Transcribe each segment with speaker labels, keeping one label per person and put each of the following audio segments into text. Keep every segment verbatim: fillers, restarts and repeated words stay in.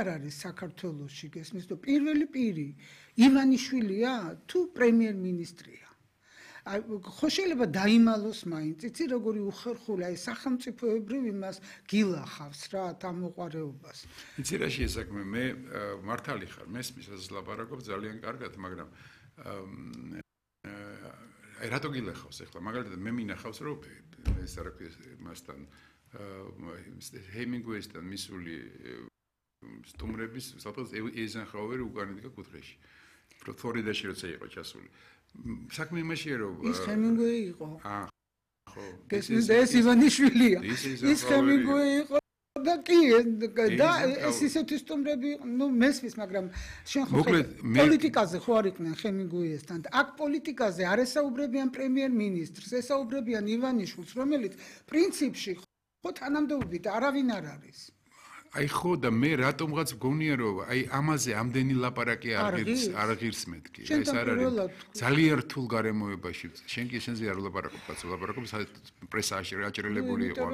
Speaker 1: არ არის საქართველოში გესმის თუ პირველი პირი ივანიშვილია თუ პრემიერ-მინისტრია ხო შეიძლება დაიმალოს მაინც იცი როგორი უხერხული აი სახელმწიფოებრივ იმას გილახავს რა დამოყარეობას
Speaker 2: იცი რა შეესაქმე მე მართალი ხარ მესმის ასე ლაპარაკობ ძალიან კარგად მაგრამ აი რატო გილახავს ახლა მაგალითად მე მინახავს რომ ეს რა ქვია მასთან ჰემინგუეისთან მისული სტუმრების საფოს ეიზენჰაუერი უკანიდგა კუთხეში ფლორიდაში როცა იყო ჩასული საქმე იმაშია რომ
Speaker 1: ის ჰემინგუეი იყო
Speaker 2: აა ხო
Speaker 1: ეს ივანიშვილია ის ჰემინგუეი იყო და კი და ეს ისეთი სტუმრები ნუ მესმის მაგრამ შენ ხო პოლიტიკაზე ხო არ იყვნენ ჰემინგუეისთან აქ პოლიტიკაზე არ ესაუბრებიან პრემიერ-მინისტრს ესაუბრებიან ივანიშვილს რომელიც პრინციპში ხო თანამდებობით არავინ არ არის
Speaker 2: აი ხო და მე რატომღაც გონია რომ აი ამაზე ამდენი ლაპარაკი არ ღირს არ ღირს მეთქი ეს არ არის ძალიან რთულ გარემოებაში შენ კი შენზე არ ლაპარაკობ კაცო ლაპარაკობ პრესაში რაჭრელებული იყო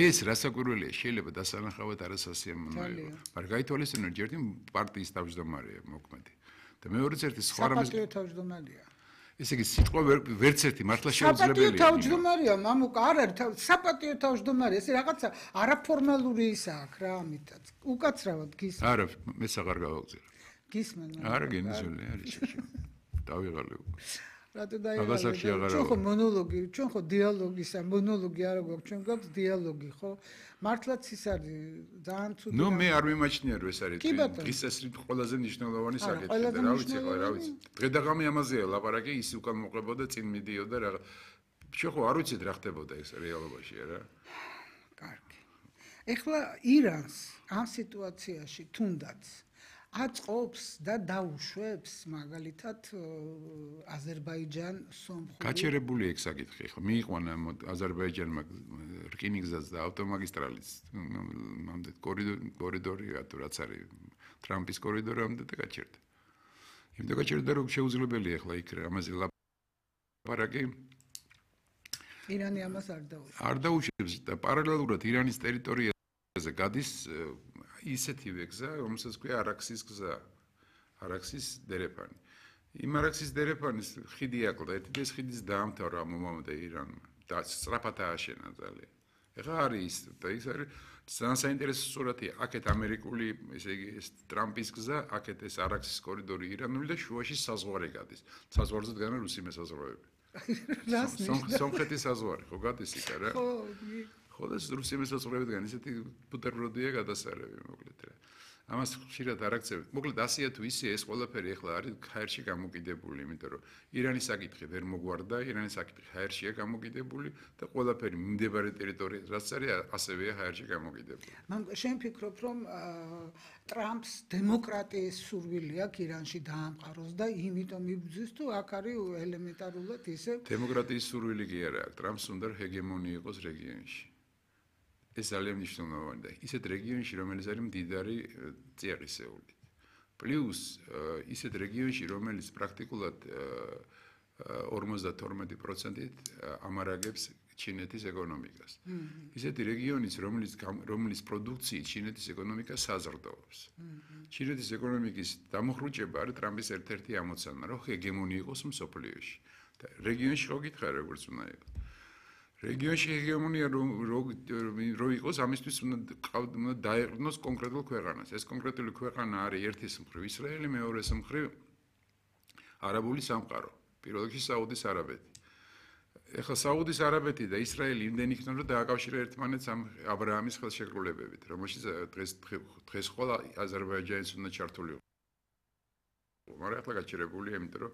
Speaker 2: ეს რასაკვირველია შეიძლება დასანახავად არასასიამოვნოა მაგრამ გაითვალისწინო ჯერ პარტიის თავმჯდომარეა მოქმედი და მეორე ერთი სხვა რამის
Speaker 1: საპატიო თავმჯდომარეა
Speaker 2: ესე იგი სიტყვა ვერც ერთი მართლა შეუძლებელია.
Speaker 1: საპატიო თავმჯდომარეა, მამუკა, არ არის საპატიო თავმჯდომარე, ეს რაღაცა არაფორმალური ისაა რა ამითაც. უკაცრავად გისმენ.
Speaker 2: არა, მეც აღარ გავაგზავნე.
Speaker 1: გისმენ.
Speaker 2: არა, გენიზოლი არის შეშო. დავიღალე უკვე.
Speaker 1: რატო დაიღალე? ჩვენ ხო მონოლოგი, ჩვენ ხო დიალოგისა, მონოლოგი არა გვაქვს, ჩვენ გვაქვს დიალოგი, ხო? მართლაც ის არის ძალიან ცუდი.
Speaker 2: ნუ მე არ მიმაჩნია რომ ეს არის ის ეს ყველაზე მნიშვნელოვანი საკითხი და რა ვიცი ხო რა ვიცი დღე-დაღამი ამაზეა ლაპარაკი ის უკან მოყებოდა წინ მიდიოდა რა შენ ხო არ ვიცით რა ხდებოდა ეს რეალობაში რა
Speaker 1: კარგი ეხლა ირანს ამ სიტუაციაში თუნდაც აწყობს და დაუშვებს მაგალითად აზერბაიჯან სომხური
Speaker 2: გაჩერებული ეგ საკითხი ხო მიიყვანა აზერბაიჯანმა რკინიგზას და ავტომაგისტრალის მამდე კორიდორი თუ რაც არის ტრამპის კორიდორამდე და გაჩერდა იმდა გაჩერდა რომ შეუძლებელია ახლა იქ ამაზე ლაპარაკი
Speaker 1: ირანი ამას არ დაუშვებს
Speaker 2: არ დაუშვებს და პარალელურად ირანის ტერიტორიაზე გადის ისეთივე გზა, რომელსაც ქვია არაქსის გზა. არაქსის დერეფანი. იმ არაქსის დერეფანის ხიდი აკლდა, ერთი ეს ხიდის დაამთავრა მომამდე ირანმა და სწრაფად ააშენა ძალიან. ეხლა არის და ის არის ძალიან საინტერესო სურათია. აქეთ ამერიკული, ესე იგი, ეს ტრამპის გზა, აქეთ ეს არაქსის კორიდორი ირანული და შუაში საზღვარი გადის. საზღვარზე დგანან რუსი მესაზღვროები. სომხეთის საზღვარი, ხო გადის იქ რა?
Speaker 1: ხო,
Speaker 2: ხო და რუსი მესაზღვროებიდან ისეთი ბუტერბროდია გადასარევი მოკლედ რა. ამას ხშირად არ აქცევთ. მოკლედ ასეა თუ ისე ეს ყველაფერი ახლა არის ხაერში გამოკიდებული, იმიტომ რომ ირანის საკითხი ვერ მოგვარდა, ირანის საკითხი ხაერშია გამოკიდებული და ყველაფერი მიმდებარე ტერიტორიაზე რაც არის ასევეა ხაერში გამოკიდებული.
Speaker 1: მან შენ ფიქრობ რომ ტრამპს დემოკრატიის სურვილი აქვს ირანში დაამყაროს და იმიტომ იბრძვის თუ აქ არის ელემენტარულად ისე
Speaker 2: დემოკრატიის სურვილი კი არა აქვს. ტრამპს უნდა ჰეგემონია იყოს რეგიონში. ეს ძალიან მნიშვნელოვანია და ისეთ რეგიონში რომელიც არის მდიდარი წიაღისეულით. პლუს ისეთ რეგიონში რომელიც პრაქტიკულად ორმოცდათორმეტი პროცენტით ამარაგებს ჩინეთის ეკონომიკას. ისეთი რეგიონის რომელიც რომელიც პროდუქციით ჩინეთის ეკონომიკა საზრდოობს. ჩინეთის ეკონომიკის დამოხრუჭება არის ტრამპის ერთ-ერთი ამოცანა, რომ ჰეგემონია იყოს მსოფლიოში. და რეგიონში ხო გითხარ როგორც უნდა იყოს. რეგიონში ჰეგემონია რო იყოს, ამისთვის უნდა დაეყრდნოს კონკრეტულ ქვეყანას. ეს კონკრეტული ქვეყანა არის ერთის მხრივ ისრაელი, მეორეს მხრივ არაბული სამყარო. პირველ რიგში საუდის არაბეთი. ეხლა საუდის არაბეთი და ისრაელი იმდენ იქნება რომ დააკავშირა ერთმანეთს ამ აბრაამის ხელშეკრულებებით, რომელშიც დღეს დღეს ყველა აზერბაიჯანის უნდა ჩართულიყო. მაგრამ ახლა გაჩერებულია, იმიტომ რომ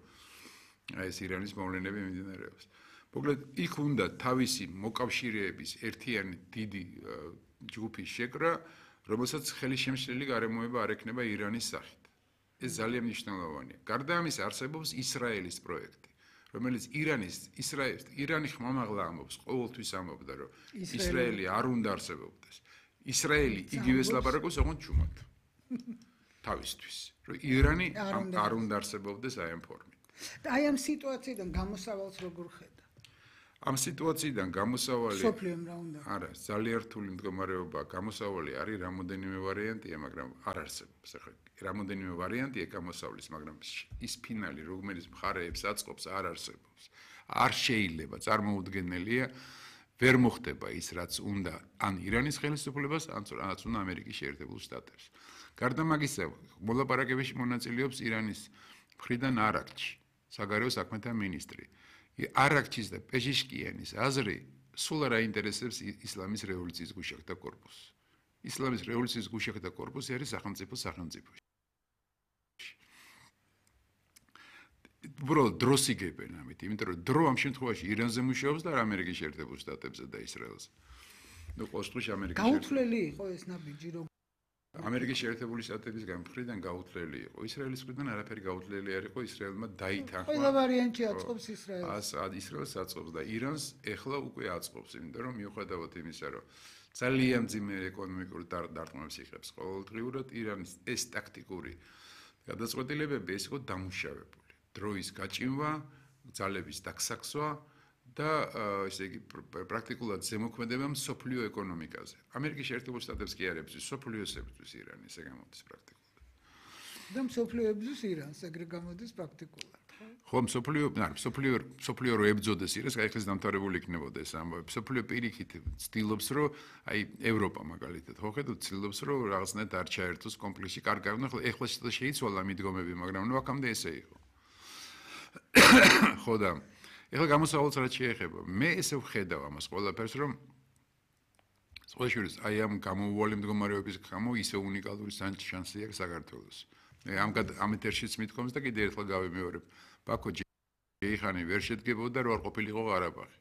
Speaker 2: აი ეს ირანის მოვლენები მიმდინარეობს. მოკლედ იქ უნდა თავისი მოკავშირეების ერთიანი დიდი ჯგუფის შეკრა, რომელსაც ხელისშემშლელი გარემოება არ ექნება ირანის სახით. ეს ძალიან მნიშვნელოვანია. გარდა ამისა არსებობს ისრაელის პროექტი, რომელიც ირანის ისრაელის ირანი ხმამაღლა ამბობს, ყოველთვის ამბობდა, რომ ისრაელი არ უნდა არსებობდეს. ისრაელი იგივეს ლაპარაკობს, ოღონდ ჩუმად. თავისთვის, რომ ირანი არ უნდა არსებობდეს აი ამ ფორმით.
Speaker 1: და აი ამ სიტუაციიდან გამოსავალს როგორ ხედავ?
Speaker 2: ამ სიტუაციიდან გამოსავალი
Speaker 1: სოფლიომ რა უნდა?
Speaker 2: არა, ძალიან რთული მდგომარეობა, გამოსავალი არის რამოდენიმე ვარიანტია, მაგრამ არ არსებობს. ახლა რამოდენიმე ვარიანტია გამოსავლის, მაგრამ ის ფინალი, რომელიც მხარეებს აწყობს, არ არსებობს. არ შეიძლება, წარმოუდგენელია, ვერ მოხდება ის, რაც უნდა ან ირანის ხელისუფლებას, ან რაც უნდა ამერიკის შეერთებულ შტატებს. გარდა მაგისა, მოლაპარაკებებში მონაწილეობს ირანის მხრიდან არაქჩი, საგარეო საქმეთა მინისტრი. არაქჩის და პეჟიშკიანის აზრი სულ არ აინტერესებს ისლამის რევოლუციის გუშაგთა კორპუსს. ისლამის რევოლუციის გუშაგთა კორპუსი არის სახელმწიფო სახელმწიფოში. უბრალოდ დროს იგებენ ამით, იმიტომ რომ დრო ამ შემთხვევაში ირანზე მუშაობს და ამერიკის შეერთებულ შტატებზე და ისრაელზე. ნუ ყოველთვის ამერიკის
Speaker 1: გაუთვლელი იყო ეს ნაბიჯი რომ
Speaker 2: ამერიკის შეერთებული შტატების გამხრიდან გაუთვლელი იყო. ისრაელის მხრიდან არაფერი გაუთვლელი არ იყო, ისრაელმა დაითანხმა.
Speaker 1: ყველა ვარიანტი აწყობს ისრაელს.
Speaker 2: ას ისრაელს აწყობს და ირანს ეხლა უკვე აწყობს, იმიტომ რომ მიუხედავად იმისა, რომ ძალიან მძიმე ეკონომიკური დარტყმებს იღებს ყოველდღიურად, ირანის ეს ტაქტიკური გადაწყვეტილებები ეს იყო დამუშავებული. დროის გაჭიმვა, ძალების დაგსაქსვა და ესე იგი პრაქტიკულად ზემოქმედება მსოფლიო ეკონომიკაზე. ამერიკის შეერთებულ შტატებს კი არ ებრძვის, მსოფლიოს ებრძვის ირანი, ესე გამოდის პრაქტიკულად.
Speaker 1: და მსოფლიო ებრძვის ირანს, ეგრე გამოდის პრაქტიკულად.
Speaker 2: ხო, მსოფლიო, არა, მსოფლიო, მსოფლიო რო ებრძოდეს ირანს, აი ხეს დამთავრებული იქნებოდა ეს ამბავი. მსოფლიო პირიქით ცდილობს, რომ აი ევროპა მაგალითად, ხო ხედავთ, ცდილობს, რომ რაღაცნაირად არ ჩაერთოს კონფლიქტში. კარგი, ახლა ეხლა შეიცვალა მიდგომები, მაგრამ ნუ აქამდე ესე იყო. ხო და ეხლა გამოსავალს რაც შეეხება, მე ესე ვხედავ ამას ყველაფერს, რომ სწორედ აი ამ გამოუვალი მდგომარეობის გამო ისე უნიკალური შანსი აქვს საქართველოს. მე ამ ამ ეთერშიც მithkoms და კიდე ერთხელ გავიმეორებ, ბაქო ჯეიხანი ვერ შედგებოდა რო არ ყოფილიყო ყარაბაღი.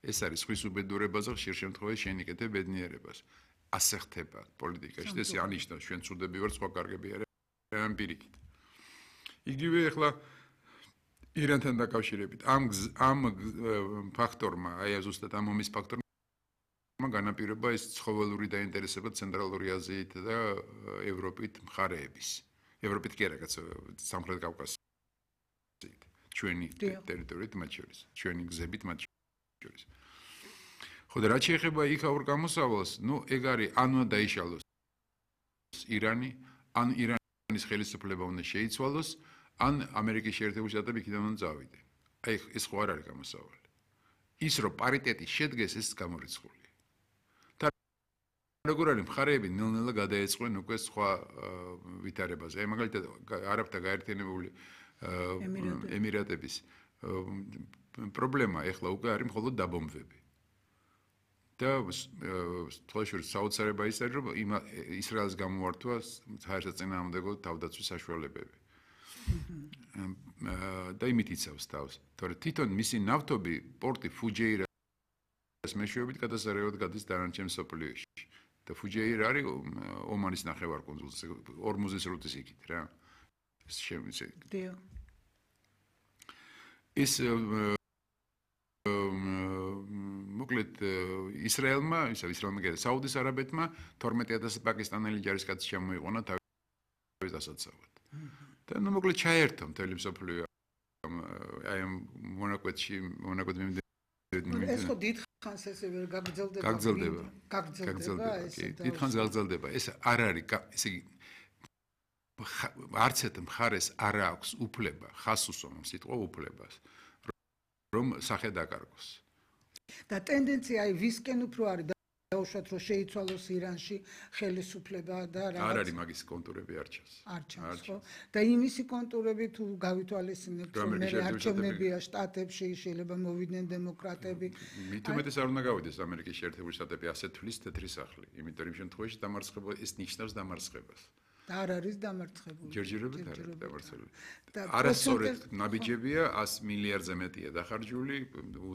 Speaker 2: ეს არის ხვის უბედურებაზე ხშირ შემთხვევაში შენიკეთე ბედნიერებას. ასე ხდება პოლიტიკაში და ეს ანიშნავს ჩვენ ცუდები ვარ, სხვა კარგები არიან პირიქით. იგივე ეხლა ირანთან დაკავშირებით ამ ამ ფაქტორმა, აი ზუსტად ამ ომის ფაქტორმა განაპირობა ეს ცხოველური დაინტერესება ცენტრალური აზიით და ევროპით მხარეების. ევროპით კი არა, კაცო, სამხრეთ კავკასიით. ჩვენი ტერიტორიით მათ შორის, ჩვენი გზებით მათ შორის. ხო და რაც შეეხება იქაურ გამოსავალს, ნუ ეგ არის ან უნდა დაიშალოს ირანი, ან ირანის ხელისუფლება უნდა შეიცვალოს. ან ამერიკის შეერთებული შტატები იქიდან უნდა წავიდე. აი ეს ხო არ არის გამოსავალი. ის რომ პარიტეტი შედგეს, ეს გამორიცხულია. და როგორ არის მხარეები ნელ-ნელა გადაეწყვნენ უკვე სხვა ვითარებაზე. აი მაგალითად არაბთა გაერთიანებული ემირატების პრობლემა ეხლა უკვე არის მხოლოდ დაბომბვები. და თვალშორ საოცარება ის არის, რომ ისრაელს გამოართვა საერთაშორისო თავდაცვის საშუალებები. და იმით იცავს თავს. თორე თვითონ მისი ნავთობი პორტი ფუჯეირას მეშვეობით გადასარევად გადის დანარჩენ მსოფლიოში. და ფუჯეირა არის ომანის ნახევარკუნძულზე, ორმუზის რუტის იქით რა. ეს შემიძლია.
Speaker 1: დიო.
Speaker 2: ეს მოკლედ ისრაელმა, ისა ისრაელმა და საუდის არაბეთმა თორმეტი ათასი პაკისტანელი ჯარისკაცი შემოიყვანა თავის დასაცავად. და ნუ მოკლედ ჩაერთო მთელი მსოფლიო აი ამ მონაკვეთში მონაკვეთ მიმდევრ
Speaker 1: ეს ხო დიდხანს ესე ვერ გაგრძელდება
Speaker 2: გაგრძელდება
Speaker 1: გაგრძელდება ესე
Speaker 2: დიდხანს გაგრძელდება ეს არ არის ესე იგი არც ერთ მხარეს არ აქვს უფლება ხას უსვამს სიტყვა უფლებას რომ სახე დაკარგოს
Speaker 1: და ტენდენცია აი ვისკენ უფრო არის დაუშვათ რომ შეიცვალოს ირანში ხელისუფლება და
Speaker 2: რაღაც არ არის მაგის კონტურები არ ჩანს
Speaker 1: არ ჩანს ხო და იმისი კონტურები თუ გავითვალისწინებთ რომ მე არჩევნებია შტატებში შეიძლება მოვიდნენ დემოკრატები
Speaker 2: მით უმეტეს არ უნდა გავიდეს ამერიკის შეერთებული შტატები ასე თვლის თეთრი სახლი იმიტომ რომ შემთხვევაში დამარცხება ეს ნიშნავს დამარცხებას
Speaker 1: და არ არის დამარცხებული
Speaker 2: ჯერჯერობით არ არის დამარცხებული არასწორად ნაბიჯებია ას მილიარდზე მეტია დახარჯული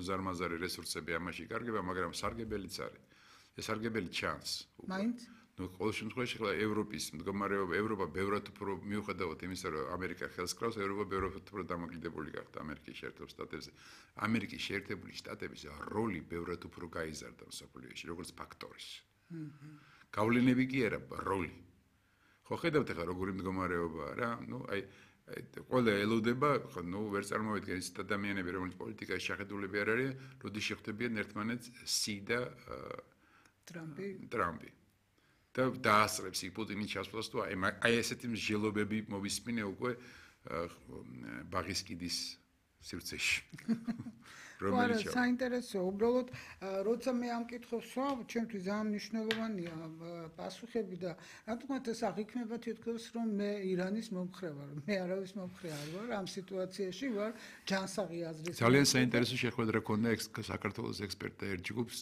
Speaker 2: უზარმაზარი რესურსები ამაში კარგება მაგრამ სარგებელიც არის ეს სარგებელი ჩანს.
Speaker 1: მაინც?
Speaker 2: ნუ ყოველ შემთხვევაში ხლა ევროპის მდგომარეობა, ევროპა ბევრად უფრო მიუხედავად იმისა, რომ ამერიკა ხელს კრავს, ევროპა ბევრად უფრო დამოკიდებული გახდა ამერიკის შეერთებულ შტატებზე. ამერიკის შეერთებული შტატების როლი ბევრად უფრო გაიზარდა მსოფლიოში, როგორც ფაქტორის. გავლენები კი არა, როლი. ხო ხედავთ ახლა როგორი მდგომარეობაა რა? ნუ აი ყველა ელოდება, ნუ ვერ წარმოვიდგენ ის ადამიანები, რომელიც პოლიტიკაში შეხედულები არ არიან, როდის შეხვდებიან ერთმანეთს სი და
Speaker 1: ტრამპი.
Speaker 2: ტრამპი. და დაასწრებს იქ პუტინის ჩასვლას თუ აი ესეთი მსჯელობები მოვისმინე უკვე ბაღის კიდის სივრცეში.
Speaker 1: რომელიც საინტერესო, უბრალოდ როცა მე ამ კითხვებს ვსვამ, ჩემთვის ძალიან მნიშვნელოვანია პასუხები და რა თქმა უნდა ეს აღიქმება თითქოს რომ მე ირანის მომხრე ვარ, მე არავის მომხრე არ ვარ, ამ სიტუაციაში ვარ ჯანსაღი აზრის.
Speaker 2: ძალიან საინტერესო შეხვედრა ქონდა საქართველოს ექსპერტთა ერთ ჯგუფს,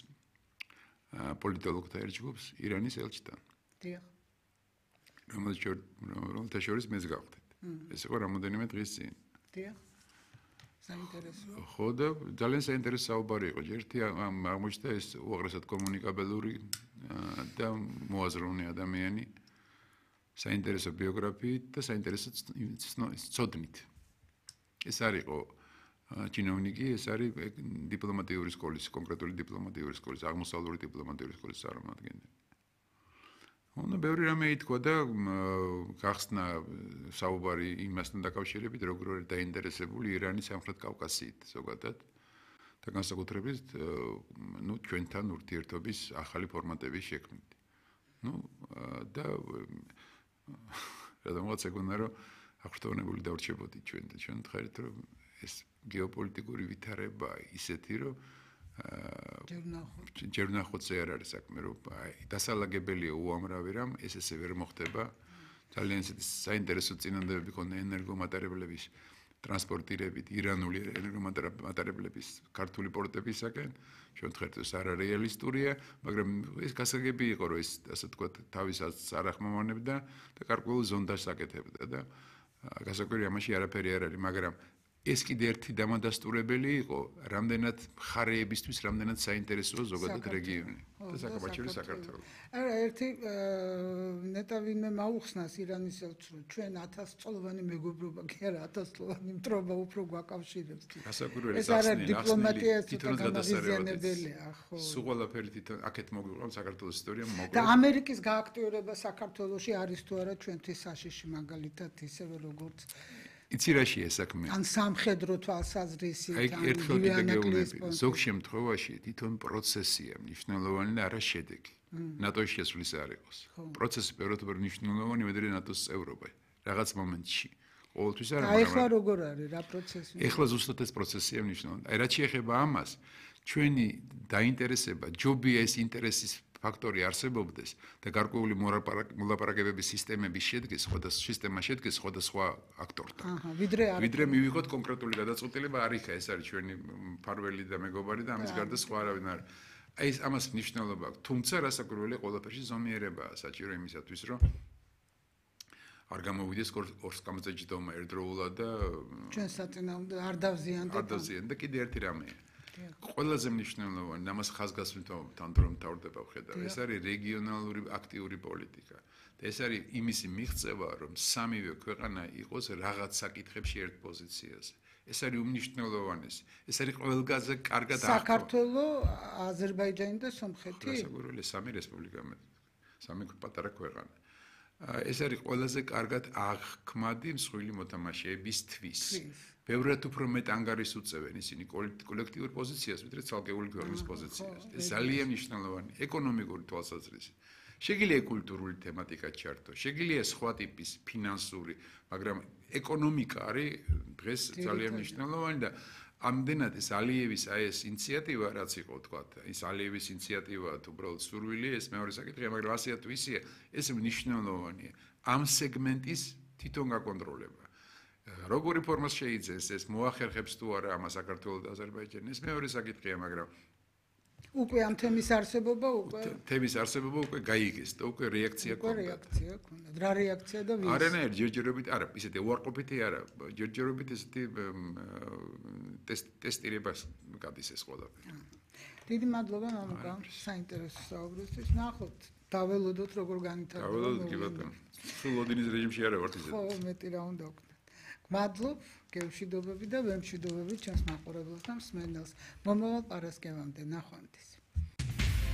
Speaker 2: პოლიტოლოგთა ერთ ჯგუფს ირანის ელჩთან.
Speaker 1: დიახ.
Speaker 2: რომელთა შორის მეც გავხდით. ეს იყო რამოდენიმე დღის წინ.
Speaker 1: დიახ. საინტერესო.
Speaker 2: ხო და ძალიან საინტერესო საუბარი იყო. ერთი აღმოჩნდა ეს უაღრესად კომუნიკაბელური და მოაზროვნე ადამიანი, საინტერესო ბიოგრაფიით და საინტერესო ცოდნით. ეს არის იყო ჩინოვნიკი, ეს არის დიპლომატიური სკოლის, კონკრეტული დიპლომატიური სკოლის, აღმოსავლური დიპლომატიური სკოლის წარმომადგენელი. ანუ ბევრი რამე ითქვა და გახსნა საუბარი იმასთან დაკავშირებით, როგორ არის დაინტერესებული ირანის სამხრეთ კავკასიით ზოგადად და განსაკუთრებით ნუ ჩვენთან ურთიერთობის ახალი ფორმატების შექმნით. ნუ და რადგანაც ეგონა რომ აღფრთოვანებული დავრჩებოდი ჩვენ და ჩვენ ვთქვით რომ ეს გეოპოლიტიკური ვითარება ისეთი რომ ჯერ ნახოთზე არ არის საქმე რომ დასალაგებელია უამრავი რამ ეს ესე ვერ მოხდება ძალიან ისეთი საინტერესო წინანდები ქონდა ენერგომატარებლების ტრანსპორტირებით ირანული ენერგომატარებლების ქართული პორტებისაკენ ჩვენ ვთქვით ეს არარეალისტურია მაგრამ ეს გასაგები იყო რომ ეს ასე ვთქვათ თავისაც არ ახმოვანებდა და გარკვეულ ზონდას აკეთებდა და გასაკვირი ამაში არაფერი არ არის მაგრამ ეს კიდე ერთი დამადასტურებელი იყო, რამდენად მხარეებისთვის, რამდენად საინტერესოა ზოგადად რეგიონი და საკუთრივ საქართველოს.
Speaker 1: არა, ერთი ნეტა ვინმე მაუხსნას ირანის ელჩს, რომ ჩვენ ათას წლოვანი მეგობრობა კი არა, ათას წლოვანი მტრობა უფრო გვაკავშირებს.
Speaker 2: გასაკვირველი
Speaker 1: ეს არა დიპლომატია, ეს განმაღიზიანებელია, ხო.
Speaker 2: სულ ყველაფერი თვითონ აქეთ მოგვიყვანს საქართველოს ისტორია მოკლედ.
Speaker 1: და ამერიკის გააქტიურება საქართველოში არის თუ არა ჩვენთვის საშიში მაგალითად ისევე როგორც
Speaker 2: იცი რაშია საქმე?
Speaker 1: ან სამხედრო თვალსაზრისით,
Speaker 2: ან ერთხელ კიდე გეუბნები. ზოგ შემთხვევაში თვითონ პროცესია მნიშვნელოვანი და არა შედეგი. ნატოს შესვლის არ იყოს. პროცესი ბევრად უფრო მნიშვნელოვანი ვიდრე ნატოს წევრობა. რაღაც მომენტში. ყოველთვის არა,
Speaker 1: მაგრამ აი ხლა როგორ არის რა პროცესი?
Speaker 2: ეხლა ზუსტად ეს პროცესია მნიშვნელოვანი. აი რაც შეეხება ამას, ჩვენი დაინტერესება, ჯობია ეს ინტერესის ფაქტორი არსებობდეს და გარკვეული მოლაპარაკებების სისტემების შედგეს, სხვადასხვა სისტემა შედგეს სხვადასხვა აქტორთან.
Speaker 1: აჰა, ვიდრე არ
Speaker 2: ვიდრე მივიღოთ კონკრეტული გადაწყვეტილება, არ იქა ეს არის ჩვენი მფარველი და მეგობარი და ამის გარდა სხვა არავინ არ. აი ეს ამას მნიშვნელობა აქვს. თუმცა რასაკვირველია ყველაფერში ზომიერებაა საჭირო იმისათვის, რომ არ გამოვიდეს ორსკამზე ჯდომა ერთდროულად და
Speaker 1: ჩვენ საწინააღმდეგო არ დავზიანდეთ.
Speaker 2: არ დავზიანდეთ და კიდე ერთი რამეა. ყველაზე მნიშვნელოვანი ამას ხაზგასმით რომ თავდება ვხედავ ეს არის რეგიონალური აქტიური პოლიტიკა და ეს არის იმისი მიღწევა რომ სამივე ქვეყანა იყოს რაღაც საკითხებში ერთ პოზიციაზე ეს არის უმნიშვნელოვანესი ეს არის ყველგაზე კარგად აღქვა
Speaker 1: საქართველოს აზერბაიჯანი და სომხეთი
Speaker 2: გასაგურელი სამი რესპუბლიკა სამი პატარა ქვეყანა ეს არის ყველაზე კარგად აღქმადი მსხვილი მოთამაშეებისთვის ბევრად უფრო მეტ ანგარიშს უწევენ ისინი კოლექტიურ პოზიციას, ვიდრე ცალკეული ქვეყნის პოზიციას. ეს ძალიან მნიშვნელოვანი ეკონომიკური თვალსაზრისით. შეგიძლია კულტურული თემატიკა ჩართო, შეგიძლია სხვა ტიპის ფინანსური, მაგრამ ეკონომიკა არის დღეს ძალიან მნიშვნელოვანი და ამდენად ეს ალიევის აი ეს ინიციატივა რაც იყო თქვა, ის ალიევის ინიციატივა თუ უბრალოდ სურვილი, ეს მეორე საკითხია, მაგრამ ასეა თუ ისეა, ეს მნიშვნელოვანია. ამ სეგმენტის თვითონ გაკონტროლება. როგორი ფორმას შეიძენს ეს მოახერხებს თუ არა ამას საქართველოს და აზერბაიჯანის ეს მეორე საკითხია მაგრამ
Speaker 1: უკვე ამ თემის არსებობა უკვე
Speaker 2: თემის არსებობა უკვე გაიგეს და უკვე რეაქცია
Speaker 1: ქონდა უკვე რეაქცია ქონდა რა რეაქცია და ვის
Speaker 2: არანაირ ჯერჯერობით არა ისეთი უარყოფითი არა ჯერჯერობით ესეთი ტესტირებას გადის ეს ყველაფერი
Speaker 1: დიდი მადლობა მამუკა საინტერესო საუბრისთვის ნახოთ დაველოდოთ როგორ განვითარდება
Speaker 2: დაველოდოთ კი ბატონო სულ ოდინის რეჟიმში არა ვართ ისე
Speaker 1: ხო მეტი რა უნდა ვქნა მადლობ გემშვიდობები და ვემშვიდობები ჩემს მაყურებელს და მსმენელს მომავალ პარასკევამდე ნახვამდის